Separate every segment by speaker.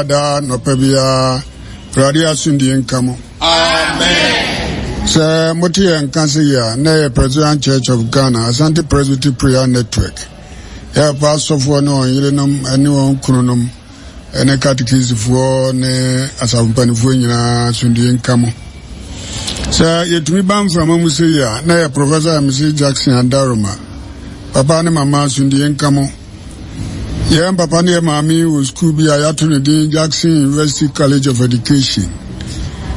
Speaker 1: Daa nɔpa biara, Awurade asomdwie nka mo.
Speaker 2: Amen.
Speaker 1: Sɛ mote yɛn nka se yi a, na ɛyɛ Presbyterian Church of Ghana, Asante Presbytery Prayer Network. Yɛ papa asɔfoɔ ne wɔn yerenom ne wɔn kununom ne katekisifoɔ ne asafo mpanimfoɔ nyinaa asomdwie nka mo. Sɛ yɛtumi ba mframa mu se yi a, na ɛyɛ Professor MC Jackson Adaroma. Papa ne mama asomdwie nka mo. Yɛn papa ne yɛn maame wɔ sukuu bi a yɛato no din Jackson University College of Education.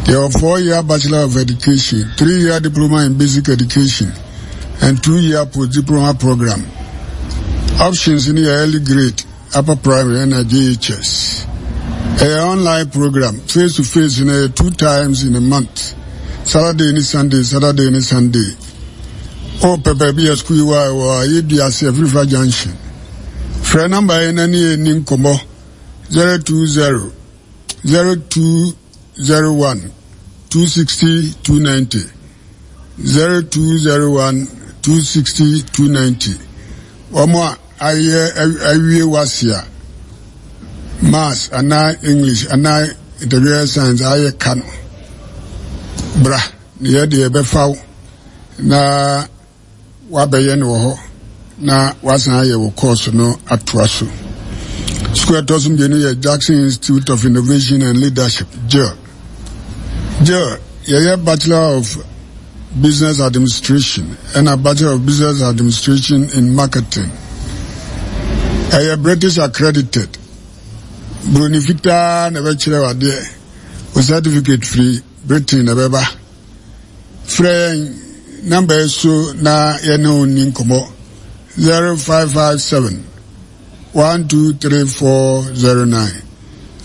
Speaker 1: Yɛwɔ four-year Bachelor of Education, three-year Diploma in Basic Education, and two-year post-diploma program. Options no yɛ early grade, upper primary, ɛna JHS. Ɛyɛ online program, face to face no yɛ two times in a month, Saturday ne Sunday, Saturday ne Sunday. Wopɛ baabi a sukuu yi wɔ a, ɛwɔ Ayedua ase Afirifa Junction. Frɛ nɔmba yi na ne yɛn nni nkɔmmɔ 020 0201 260 290 0201 260 290. Wɔn a ayɛ awie wase a Maths anaa English anaa Integrated Science ayɛ ka no, bra. Na yɛ deɛ yɛbɛfa wo na woabɛyɛ no wɔ hɔ na woasan ayɛ wo kɔɔso no atoa so. Sukuu ɛtɔ so mmienu yɛ Jackson Institute of Innovation and Leadership, JIL. JIL, yɛyɛ Bachelor of Business Administration ɛna Bachelor of Business Administration in Marketing. Ɛyɛ British accredited. Buroni fitaa na ɛbɛkyerɛ wo adeɛ. Wo certificate firi Britain na ɛbɛba. Frɛ yɛn namba yi so na yɛne wo nni nkɔmmɔ 0557 123409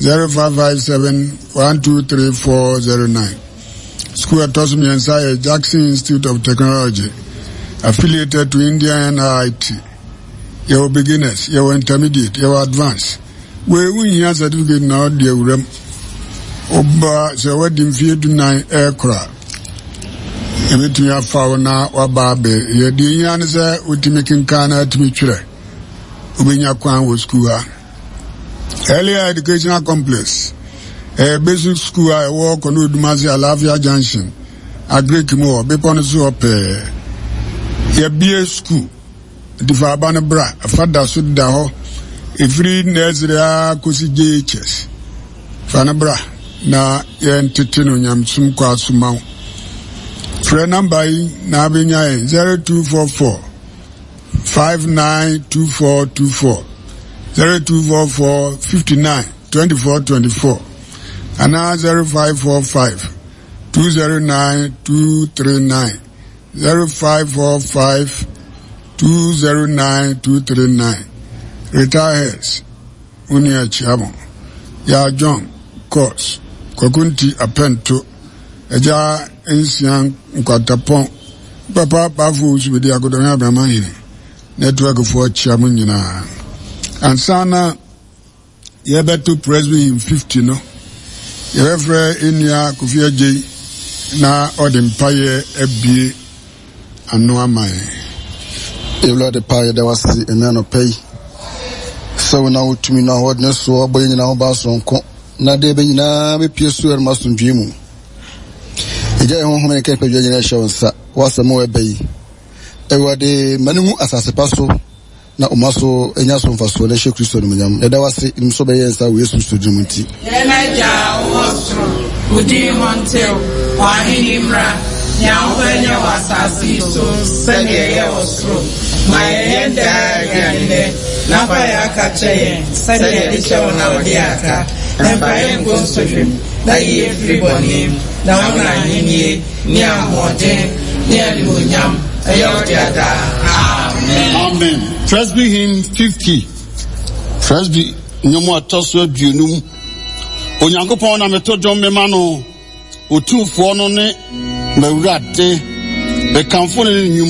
Speaker 1: 0557 123409. Sukuu ɛtɔ so mmiɛnsa yɛ Jackson Institute of Technology, affiliated to Indian NIT. Yɛwɔ beginners, yɛwɔ intermediate, yɛwɔ advanced. Wei wonhia certificate na ɔde awura mu. Woba sɛ wadi mfeɛ dunan ɛrekoro a, yɛbɛtumi afa wo na waba abɛ. Yɛ deɛ hia ne sɛ wotumi kenkan na atumi twerɛ. Wobɛnya kwan wɔ sukuu ha. Earlier Educational Complex ɛyɛ basic school a ɛwɔ Kɔno Odumase Alafia Junction, Agric mu hɔ, bepɔ no so hɔ pɛɛ. Yɛbie sukuu. Nti fa aba no bra. Fa da so da hɔ ɛfiri nursery ara kɔsi JHS. Fa no bra na yɛntete no nyamesom kwa so ma wo. Frɛ namba yi na abɛnya yɛn 0244 592424 0244 59 24 24 anaa 0545 209 239. 0545 209 239 Retired Wo nua Akyiamo, Yaa John, Kos, Kwaku Nti Apɛnto, Agya Nsia Nkwantapɔn, Papa Bafo Owusu Bedi Akodɔhene Abraham Ahene, Network foɔ akyia mo nyinaa. Ansa na yɛbɛto Presby Hymn 50 no, yɛbɛfrɛ yɛn nua Kofi Adjei na ɔde mpaeɛ abue ano ama yɛn.
Speaker 3: Awurade pa yɛda wo ase ɛnɛ anɔpa yi sɛ wo na wotumi no ahoɔdene soɔ abɔ yɛn nyinaa ho ban soronko na deɛ ɛbɛ nyinaa bɛpie so ɛrema asomdwoe mu. Ɛgya yɛn honhom ne nka nipadua nyinaa hyɛ wo nsa w'asɛm a ɛbɛ yi. Awurade ma no ngu asase pa so Na ɔma so nya so mfasoɔ na ɛhyɛ Kristo animuonyam. Yɛda wo ase, nim sɛ wobɛyɛ yɛn saa wɔ Yesu Kristo din mu nti.
Speaker 2: Yɛn Agya a wowɔ soro, wo din ho ntew, w'ahenni mmra, nea wopɛ nyɛ wɔ asase yi so sɛnea ɛyɛ wɔ soro. Ma yɛn yɛn daa aduane nnɛ, na fa yɛn aka kyɛ yɛn sɛnea yɛde kyɛ wɔn a wɔde yɛn aka, na mfa yɛn nkɔ nsɔhwɛ mu, na yi yɛn firi bɔne mu. Na wo na ahenni, ne ahoɔden, ne animuonyam ɛyɛ wo dea daa. Amen.
Speaker 4: Amen. Presby hymn 50. Presby nnwom a ɛtɔ so aduonum. Onyankopɔn na meto dwom mema no, Otumfoɔ no ne m'Awurade. Mekamfo ne ne nnwuma.